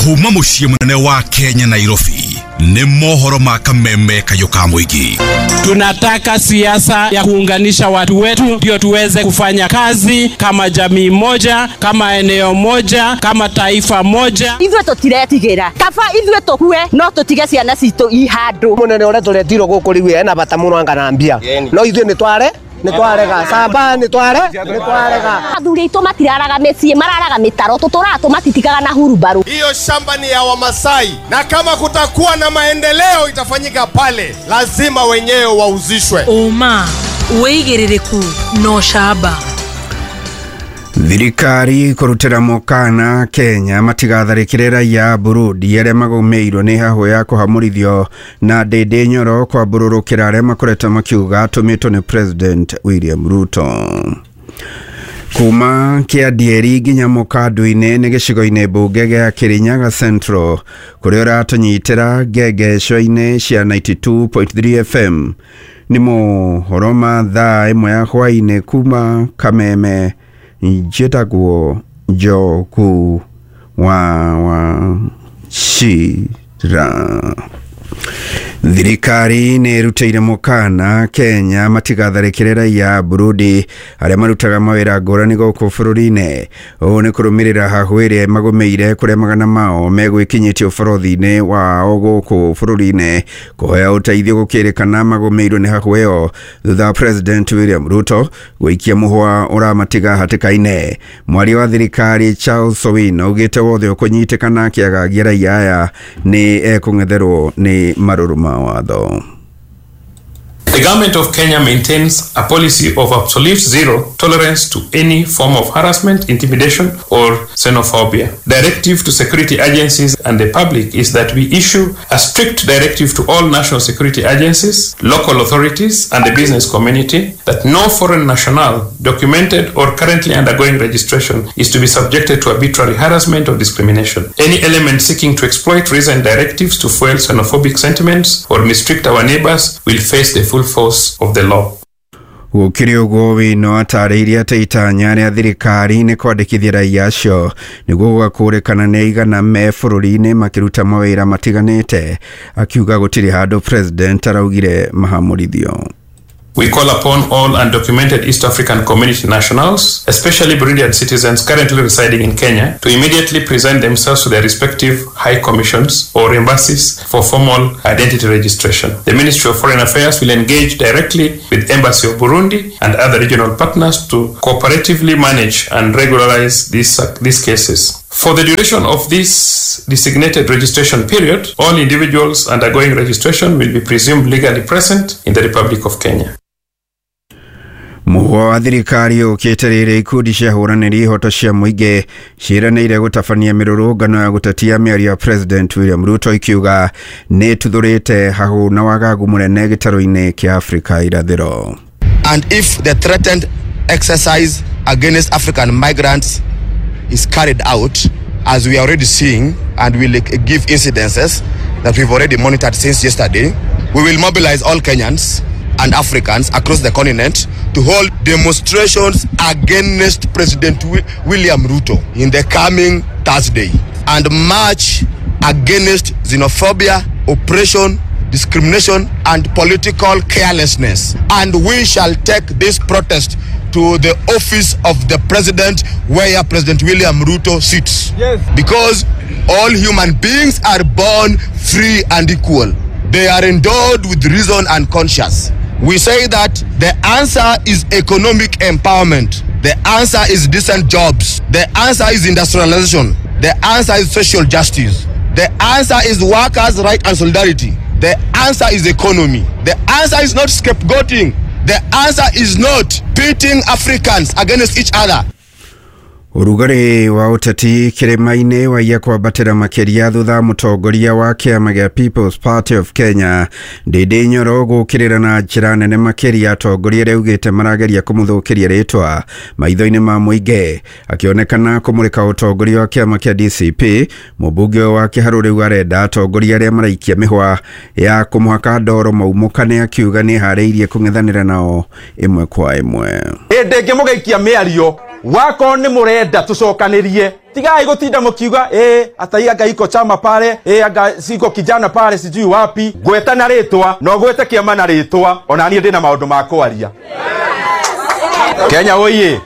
Kuma muciĩ mũnene wa Kenya, Nairobi, nĩ mohoro ma kameme kayũ ka mũingĩ. Tunataka siasa ya kuunganisha watu wetu ndio tuweze kufanya kazi kama jamii moja, kama eneo moja, kama taifa moja. Ithuĩ tũtiretigĩra, kaba ithuĩ tũkue no tũtige ciana citũ i handũ. Mũnene ũrĩa tũretirwo gũkũ rĩu ena bata mũno anga na mbia, no ithuĩ nĩ tware nĩ twarega camba nĩ tware nĩ twarega. Athuri aitũ matiraraga mĩciĩ, mararaga mĩtaro, tũtũraga tũmatitikaga na hurumbarũ. Hiyo shamba ni ya Wamasai, na kama kutakuwa na maendeleo itafanyika pale, lazima wenyewe wauzishwe. Ũma, wĩigĩrĩrĩku na ũcamba. Thirikari kũrutĩra mũkana Kenya matigatharĩkĩre raia a Burundi arĩa magũmĩirwo nĩ hahũ ya kũhamũrithio na Ndĩndĩ Nyoro kwambũrũrũkĩra arĩa makoretwo makiuga atũmĩtwo nĩ President William Ruto. Kuma Kĩandieri nginya Mũkandu-inĩ nĩ gĩcigo-inĩ mbunge gĩa Kĩrĩnyaga Central kũrĩa ũratũnyitĩra ngengesho-inĩ cia 92.3 FM. Nĩ mohoro ma thaa 1 ya hwaĩ-inĩ kuma Kameme. Njĩtagwo Njogu wa Wachira. Thirikari nĩ ĩrutĩire mũkana Kenya matigatharĩkĩre raia a Burundi arĩa marutaga mawĩra ngũrani gũkũ bũrũri-inĩ. Ũũ nĩ kũrũmĩrĩra hahũ ĩrĩa magũmĩire kũrĩa magana mao megwĩkinyĩtie ũbarũthi-inĩ wao gũkũ bũrũri-inĩ kũhoya ũteithio gũkĩrĩkana magũmĩirwo nĩ hahũ ĩyo thutha wa President William Ruto gũikia mũhwa ũramatiga hatĩka-inĩ. Mwaria wa thirikari Charles Owino augĩte wothe ũkũnyitĩkana akĩagagia raia aya nĩ ekũng'etherwo nĩ marũrũ ma watho. The government of Kenya maintains a policy of absolute zero tolerance to any form of harassment, intimidation, or xenophobia. Directive to security agencies and the public is that we issue a strict directive to all national security agencies, local authorities, and the business community that no foreign national documented or currently undergoing registration is to be subjected to arbitrary harassment or discrimination. Any element seeking to exploit recent directives to fuel xenophobic sentiments or mistreat our neighbors will face the full force of the law. Gũkĩrĩ ũguo Wino atarĩirie atĩ itanya rĩa thirikari nĩ kwandĩkithia raia acio nĩguo gũgakũrĩkana nĩ aigana me bũrũri-inĩ makĩruta mawĩra matiganĩte, akiuga gũtirĩ handũ president araugire mahamũrithio. We call upon all undocumented East African community nationals, especially Burundian citizens currently residing in Kenya, to immediately present themselves to their respective high commissions or embassies for formal identity registration. The Ministry of Foreign Affairs will engage directly with Embassy of Burundi and other regional partners to cooperatively manage and regularize these cases. For the duration of this designated registration period, all individuals undergoing registration will be presumed legally present in the Republic of Kenya. Mũhwa wa thirikari ũkĩte rĩrĩ ikundi cia hũranĩri ihoto cia mũingĩ ciĩranĩire gũtabania mĩrũrũngano ya gũtetia mĩario ya President William Ruto ikiuga nĩ ĩtuthũrĩte hahũ na wagagu mũnene gĩtarũ-inĩ kĩa Afrika irathĩro. And if the threatened exercise against African migrants is carried out, as we are already seeing, and will give incidences that we've already monitored since yesterday, we will mobilize all Kenyans and Africans across the continent to hold demonstrations against President William Ruto in the coming Thursday and march against xenophobia, oppression, discrimination, and political carelessness. And we shall take this protest to the office of the president where President William Ruto sits. Yes. Because all human beings are born free and equal. They are endowed with reason and conscience. We say that the answer is economic empowerment. The answer is decent jobs. The answer is industrialization. The answer is social justice. The answer is workers' right and solidarity. The answer is economy. The answer is not scapegoating. The answer is not pitting Africans against each other. Ũrugarĩ wa ũteti kĩrĩma-inĩ waiya kwambatĩra makĩria thutha mũtongoria wa kĩama gĩa People's Party of Kenya Ndĩndĩ Nyoro gũkĩrĩra na njĩra nene makĩria atongoria arĩa augĩte marageria kũmũthũkĩria rĩtwa maitho-inĩ ma mũingĩ, akĩonekana kũmũrĩka ũtongoria wa kĩama kĩa DCP. Mũmbunge wa Kĩharũ rĩu arenda atongoria arĩa maraikia mĩhwa ya kũmũhaka ndoro maumũkane, akiuga nĩ harĩirie kũng'ethanĩra nao ĩmwe kwa ĩmwe. Hĩndĩ ĩngĩ mũgaikia mĩario Wako nĩ mũrenda tũcokanĩrie, tigai gũtinda mũkiuga atai anga iko chama pale, anga siko kijana pale sijui wapi. Gweta na rĩtwa na ũgwete kĩama na rĩtwa, ona niĩ ndĩna maũndũ ma kwaria. Kenya oye!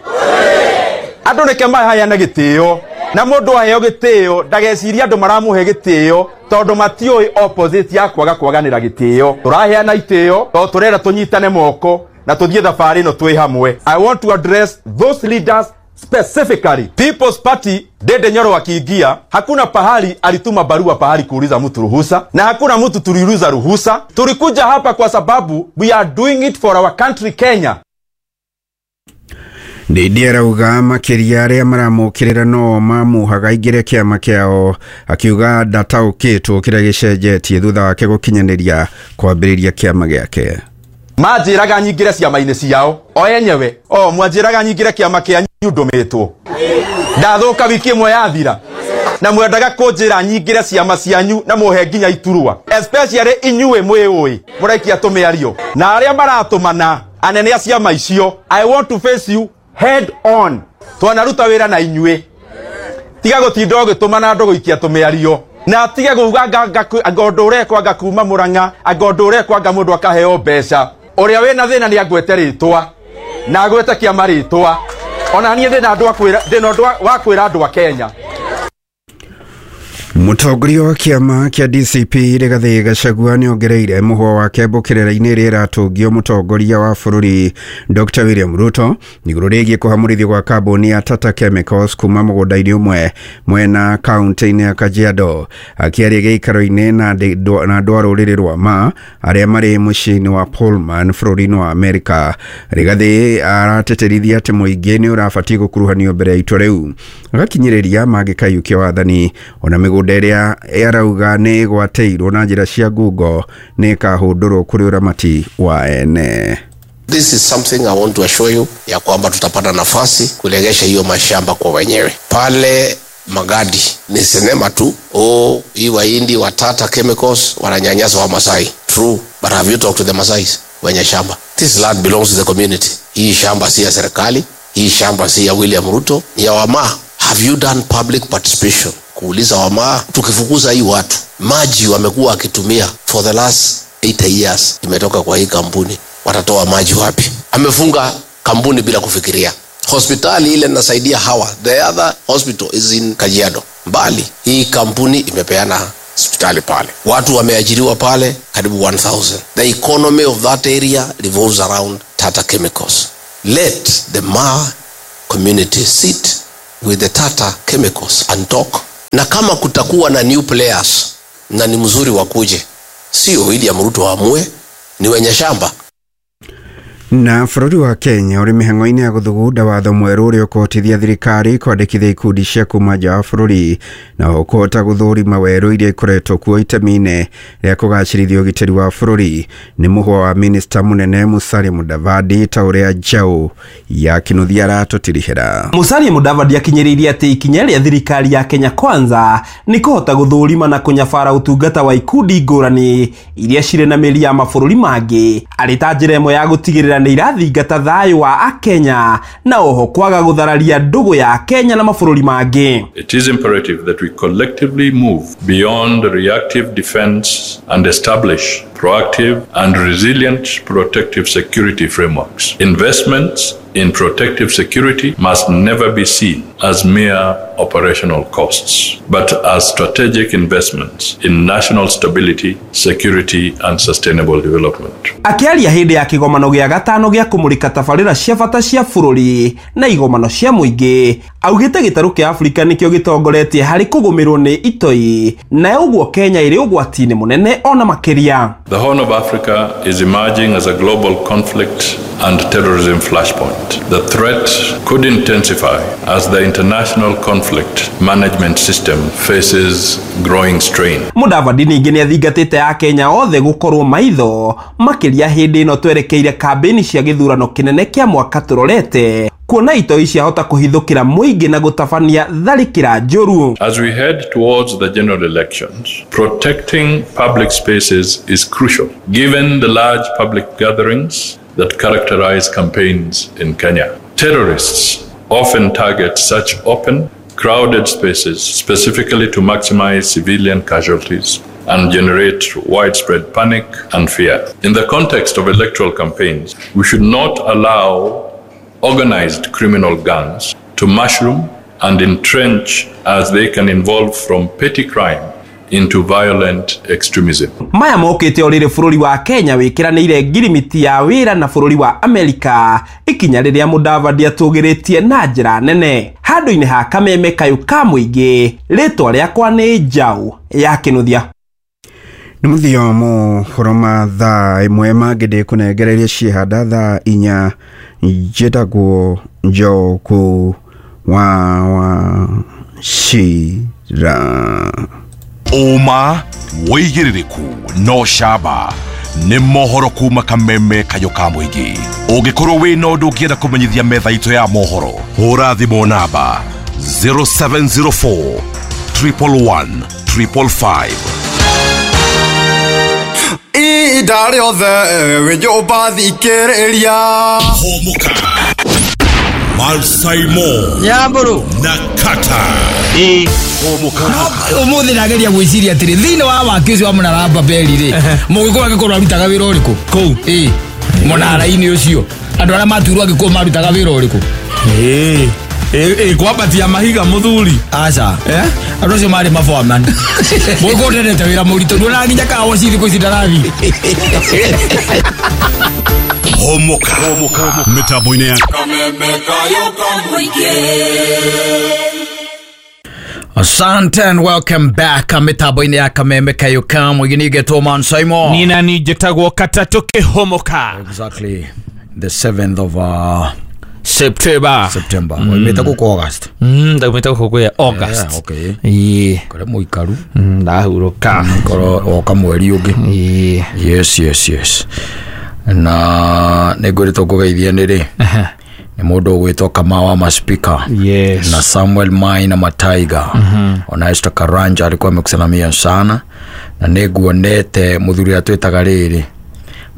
Andũ nĩke maheana gĩtĩo, na mũndũ aheo gĩtĩo ndagecirie andũ maramũhe gĩtĩo tondũ matiũĩ opposite ya kwaga kwaganĩra gĩtĩo. Tũraheana itĩo tondũ tũrenda tũnyitane moko na tũthiĩ thabarĩ ĩno twĩ hamwe. I want to address those leaders specifically. People's Party, Dede Nyoro akiingia, hakuna pahali alituma barua pahali kuuliza mtu ruhusa, na hakuna mtu tuliuliza ruhusa. Tulikuja hapa kwa sababu we are doing it for our country Kenya. Ndindi arauga makĩria arĩa maramũkĩrĩra no mamuhaga aingĩre kĩama kĩao, akiuga ndataũkĩtwo kĩrĩa gĩcenjetie thutha wake gũkinyanĩria kwambĩrĩria kĩama gĩake. Manjĩraga nyingĩre ciama-inĩ ciao o enyewe, o mwanjĩraga nyingĩre kĩama kĩanyu ndũmĩtwo, ndathũka wiki ĩmwe yathira, na mwendaga kũnjĩra nyingĩre ciama cianyu na mũhe nginya iturwa, especially inyuĩ mwĩũĩ mũraikia tũmĩario na arĩa maratũmana anene a ciama icio. I want to face you head on. Twanaruta wĩra na inyuĩ, tiga gũtinda ũgĩtũmana andũ gũikia tũmĩario, na tige kuuga anga ũndũ ũrekwo anga kuma Mũrang'a, anga ũndũ ũrekwo anga mũndũ akaheo mbeca. Ũrĩa wĩna thĩna nĩ angwete rĩtwa na agwete kĩama rĩtwa. Ona niĩ ndĩna andũ a kwĩra, ndĩna ũndũ wa kwĩra andũ a Kenya. Mũtongoria wa kĩama kĩa DCP Rigathĩ Gachagua nĩongereire mũhwa wake mbũkĩrĩra-inĩ ĩrĩa ĩratũngio mũtongoria wa bũrũri Dr. William Ruto igũrũ rĩgiĩ kũhamũrithio gwa kambuni ya Tata Chemicals kuma mũgũnda-inĩ ũmwe mwena kaunti-inĩ ya Kajiado. Akĩaria gĩikaro-inĩ na andũ a rũrĩrĩ rwa Ma arĩa marĩ mũciĩ-inĩ wa Pullman bũrũri-inĩ wa Amerika, Rigathĩ arateterithia atĩ mũingĩ nĩ ũrabatiĩ gũkuruhanio mbere ya itua rĩu, agakinyĩrĩria mangĩkaiyũkia wathani ona mĩgũnda ĩrĩa arauga nĩ ĩgwatĩirwo na njĩra cia ngungo nĩ ĩkahũndũrwo kũrĩ ũramati wa ene. This is something I want to assure you ya kwamba tutapata nafasi kulegesha hiyo mashamba kwa wenyewe. Pale Magadi ni sinema tu. Oh, hii Wahindi wa Tata Chemicals wananyanyasa wa Masai. True, but have you talked to the Masais wenye shamba? This land belongs to the community. Hii shamba si ya serikali, hii shamba si ya William Ruto, ni ya Wamaa. Have you done public participation? Kuuliza Wamaa, tukifukuza hii watu, maji wamekuwa wakitumia for the last 8 years imetoka kwa hii kampuni, watatoa maji wapi? Amefunga kampuni bila kufikiria. Hospitali ile nasaidia hawa, the other hospital is in Kajiado, mbali. Hii kampuni imepeana hospitali pale, watu wameajiriwa pale karibu 1000. The economy of that area revolves around Tata Chemicals. Let the Ma community sit with the Tata Chemicals and talk. Na kama kutakuwa na new players, na ni mzuri wakuje, sio William Ruto amue, ni wenye shamba. Na bũrũri wa Kenya ũrĩ mĩhang'o-inĩ ya gũthugunda watho mwerũ ũrĩa ũkũhotithia thirikari kwandĩkithia ikundi cia kuma nja wa bũrũri na ũkũhota gũthũrima werũ iria ikoretwo kuo itemi-inĩ rĩa kũgacĩrithia ũgitĩri wa bũrũri. Nĩ mũhwa wa minista mũnene Musalia Mudavadi ta ũrĩa njaũ ya Kinuthia aratũtirihĩra. Musalia Mudavadi akinyĩrĩirie atĩ ikinya rĩa thirikari ya Kenya Kwanza nĩ kũhota gũthũrima na kũnyabara ũtungata wa ikundi ngũrani iria cirĩ na mĩri ya mabũrũri mangĩ arĩ ta njĩra ĩmwe ya gũtigĩrĩra nĩ irathingata thayũ wa Akenya na oho kwaga gũthararia ndũgũ ya Kenya na mabũrũri mangĩ. It is imperative that we collectively move beyond reactive defense and establish proactive and resilient protective security frameworks. Investments in protective security must never be seen as mere operational costs, but as strategic investments in national stability, security, and sustainable development. Akĩaria hĩndĩ ya kĩgomano gĩa gatano gĩa kũmũrĩka tabarĩra cia bata cia bũrũri na igomano cia mũingĩ, augĩte gĩtarũ kĩa Afrika nĩkĩo gĩtongoretie harĩ kũgũmĩrwo nĩ itoi, na ũguo Kenya ĩrĩ ũgwati-inĩ mũnene ona makĩria. The Horn of Africa is emerging as a global conflict and terrorism flashpoint. The threat could intensify as the international conflict management system faces growing strain. Mudavadi ningĩ nĩ athingatĩte Akenya othe gũkorwo maitho makĩria hĩndĩ ĩno twerekeire kambĩini cia gĩthurano kĩnene kĩa mwaka tũrorete, kuona itoi ciahota kũhithũkĩra mũingĩ na gũtabania tharĩkĩra njũru. As we head towards the general elections, protecting public spaces is crucial given the large public gatherings that characterize campaigns in Kenya. Terrorists often target such open, crowded spaces specifically to maximize civilian casualties and generate widespread panic and fear. In the context of electoral campaigns, we should not allow organized criminal gangs to mushroom and entrench, as they can evolve from petty crime into violent extremism. Maya mokĩte o rĩrĩ bũrũri wa Kenya wĩkĩranĩire ngirimiti ya wĩra na bũrũri wa Amerika, ikinya rĩrĩa Mudavadi atũgĩrĩtie na njĩra nene. Handũ-inĩ ha kameme kayũ ka mũingĩ, rĩtwa rĩakwa nĩ Njaũ ya Kĩnuthia. Nĩ mũthia mohoro ma thaa ĩmwe mangĩ ndĩkũnengereria ciĩhanda thaa inya. Njĩtagwo Njoku wa Wachira. Ũma wĩigĩrĩrĩku no camba nĩ mohoro kuma kameme kayũ ka mũingĩ. Ũngĩkorwo wĩna ũndũ ũngĩenda kũmenyithia metha itũ ya mohoro, hũra thimũ namba 0704 111 555. Ihinda rĩothe wĩ nyũmba thikĩrĩria. Hũmũka Malsaimo Nyamburu na Kata. Umuthi ndageria gwiciria atiri thiini wa waki ucio wa munara Babeli ri mugikuyu angikorwo arutaga wira uriku kuu munara-ini ucio andu aria matuirwo angikuyu marutaga wira uriku? Kwambatia mahiga muthuri. Aca andu acio mari maboaman. Mugikuyu ndendete wira muritu nduonaga nginya kawoci thiku ici ndarathi. Homoka mitambo-inĩ ya Asante and welcome back. Mitambo-inĩ ya Kameme Kayo ka Mũingĩ nĩgetwo Man Simon. Nina ni njĩtagwo Katatũ Kĩhomoka. Exactly the 7th of September. September. Waimĩte gũkũ August. Ndaumĩte gũkũ kwĩ August. Yeah, okay. Ĩĩ. Kore mũikaru. Ndahurũka. Korwo woka mweri ũngĩ. Ĩĩ. Yes, yes, yes. Na nĩngwĩrĩtwo ngũgeithie nĩ rĩ nĩ mũndũ ũgwĩtwo Kamau wa Maspika. Yes. Na Samuel Mai na Mataiga. Ona Esther Karanja alikuwa amekusalamia sana. Na nĩnguonete mũthuri atwĩtaga rĩrĩ,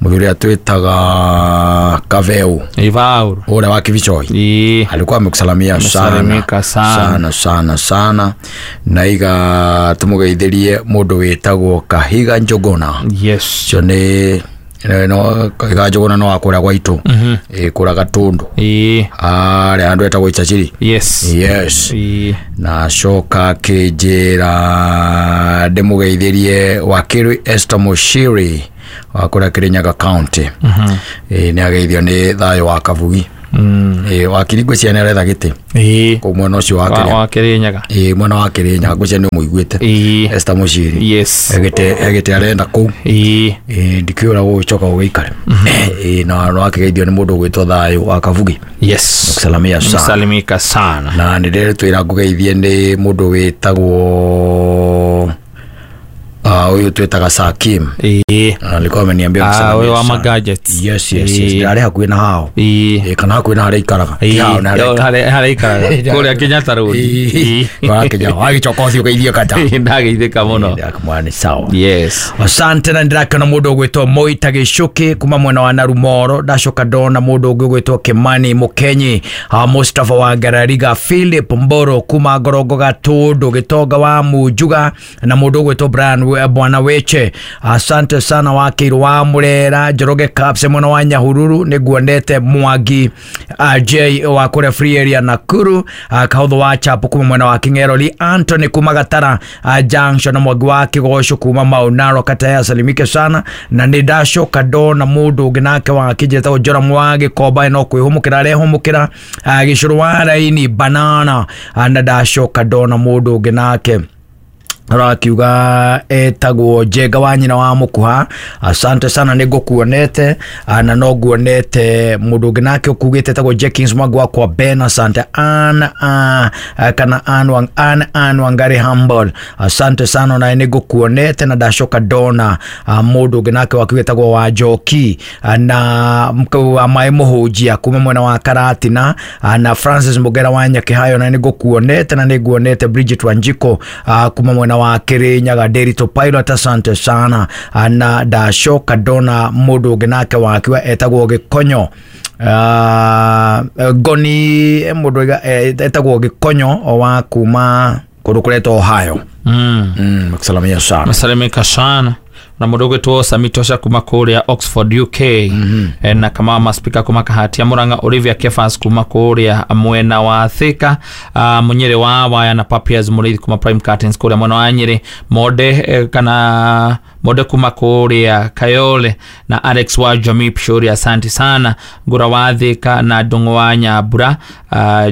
mũthuri atwĩtaga Kaveu Ivauru ule wa Kivichoi. Alikuwa amekusalamia sana sana sana sana. Na iga tumugeithirie mũndũ wĩtagwo Kahiga Njuguna. Yes. Cio nĩ no Kahiga Njuguna no akũrĩa gwaitũ. Kũrĩa Gatundu. Arĩa andũ etagwo Ichachiri. Yes. Yes. Na coka akĩnjĩra ndĩmũgeithirie Wakiri Esther Mushiri wa kũrĩa Kirinyaga County. Nĩ ageithio nĩ thayũ wa Kabugi. Wakiri ngwĩciria nĩ aretha gĩtĩ kũu mwena ũcio wa Kirinyaga. Mwena wa Kirinyaga ngwĩciria nĩ ũmũiguĩte Esther Mushiri. Yes. Egĩte arenda kũu. Ndikĩũra gũgĩcoka gũgĩikare. Na no akĩgeithio nĩ mũndũ ũgwĩtwo thayũ wa Kabugi. Yes. Nĩkusalamia sana. Msalimika sana. Na nĩ ndĩretwĩra ngũgeithie nĩ mũndũ wĩtagwo huyu twetaga Sakim. Alikuwa ameniambia kusalimia. Huyu wa gadgets. Yes, yes, yes. Ndari hakuhi na hao. Kana hakuhi na haria ikaraga. Hao na haria ikaraga. Kuria Kenyatta Road. Wa Kenya. Wagicoka ucio geithio kata. Ndageithĩka mũno. Ndakamwana ni sawa. Yes. Asante na ndirakena mũndũ ũgwĩtwo Moita Gĩcuki kuma mwena wa Narumoro. Ndacoka ndona mũndũ ũngĩ ũgwĩtwo Kimani Mũkenyi, Mustafa wa Ngarariga, Philip Mboro kuma Ngorongo Gatundu, Gĩtonga wa Munjuga na mũndũ ũgwĩtwo Brian Bwana Weche. Asante sana Wakiru wa Murera, Njoroge Caps mwena wa Nyahururu, nĩguonete Mwangi J wa kũrĩa Free Area Nakuru, Kahũthũ wa Chapo kuma mwena wa King'erori, Anthony kuma Gatara Junction na Mwangi wa Kĩgoco kuma Mau Narok Kataya, salimike sana. Na nĩ ndacoka ndona mũndũ ũngĩ nake wa kĩnjĩtagwo Joram wa Gĩkomba no kwĩhũmũkĩra arehũmũkĩra, Gĩcũrũ wa Raini Banana, na ndacoka ndona mũndũ ũngĩ nake rakiuga etagwo Njenga wa nyina wa Mukuha. Asante sana nĩngũkuonete, na no nguonete mũndũ ũngĩ nake ũkugĩte etagwo Jenkins Mwangi wa kwa Ben. Asante Ann kana Ann Wangari Humble, asante sana naye nĩngũkuonete. Na ndacoka ndona mũndũ ũngĩ nake wakiuga etagwo Wanjoki na wa Maĩ Mũhũnjia kuma mwena wa Karatina, na Francis Mugera wa Nyakihayo naye nĩngũkuonete. Na nĩnguonete Bridget Wanjiko kuma mwena wa Kirinyaga Ndiritu Pilot, asante sana. Na ndacoka ndona mũndũ ũngĩ nake wakiwa etagwo Gĩkonyo, Ngoni, mũndũ etagwo Gĩkonyo wa kuma kũndũ kũretwo Ohio. Kusalamia sana. Masalimika sana na mũndũ ũgwĩtwo Samitosha kuma kũrĩa Oxford UK. Na kama maspika kuma Kahatia Murang'a, Olivia Kefas kuma kũrĩa mwena wa Thika, Munyere wa Waya na Papias Mũrĩithi kuma Prime Curtains kũrĩa mwena wa Nyĩrĩ, Monde kana Monde kuma kũrĩa Kayole na Alex wa Jamii Pshori, asante sana. Ngura wa Thika na Ndung'u wa Nyambura,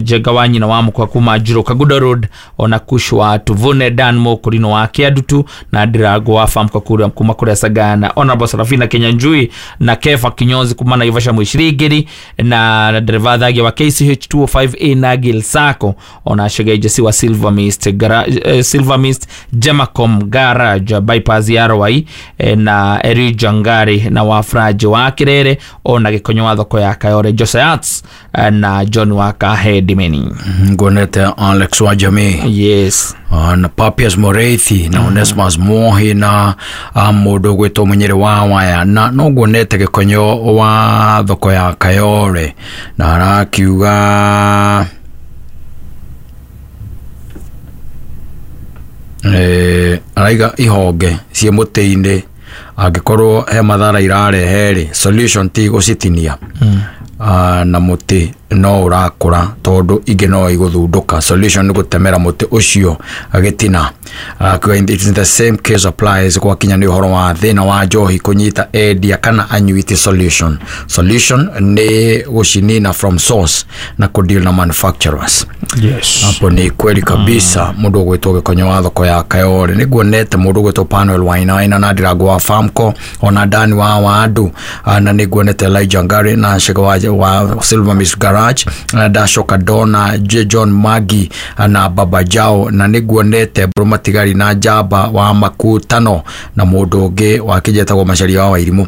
Jenga wa nyina wa Mukwa kuma Njiro Kagudo Road, ona Kushwa Tuvune Dan Mokurino wa Kiadutu na Ndirago wa Famko kũrĩa kuma kũrĩa Sagana, Honorable Sarafina Kenyanjui na Kefa Kinyozi kuma Naivasha Mwishirigiri na dereva thagia wa KCH 205A na Gil Sako, ona Shegeje wa Silver Mist Garage, Silver Mist Jamacom Garage bypass ya Rwai, na Eri Jangari na Wafraji wa Kirere, ona Gikonyo wa thoko ya Kayore Josiah na John wa Kahedimeni. Nguonete Alex wa Jamii, yes, na Papias Moreithi na Onesmus Mohi na mũndũ ũgwĩtwo Mũnyĩrĩ wa Waya, na no nguonete Gĩkonyo wa thoko ya Kayore na arakiuga araiga ihonge ciĩ mũtĩ-inĩ angĩkorwo he mathara irarehe rĩ, solution ti gũcitinia. Na mũtĩ no ũrakũra tondũ ingĩ no igũthundũka, solution nĩ gũtemera mũtĩ ũcio gĩtina. It is the same case applies gwakinya nĩ ũhoro wa thĩna wa njohi kũnyita endia kana anyuiti. Solution nĩ gũcinina from source na kũdeal na manufacturers. Yes, hapo ni kweli kabisa. Mũndũ ũgwĩtwo Gĩkonyo wa thoko ya Kayore, nĩguonete mũndũ ũgwĩtwo Panuel Wainaina na Ndirago wa Famco, ona Dani wa Wandu, na nĩguonete Elijah Ngari na Shega wa Silver Mist Garage, na ndacoka ndona John Magi na Baba Jao, na nĩguonete Mbũrũ Matigari na Njamba wa Makutano na mũndũ ũngĩ wakĩnjetagwo Macharia wa Wairimũ.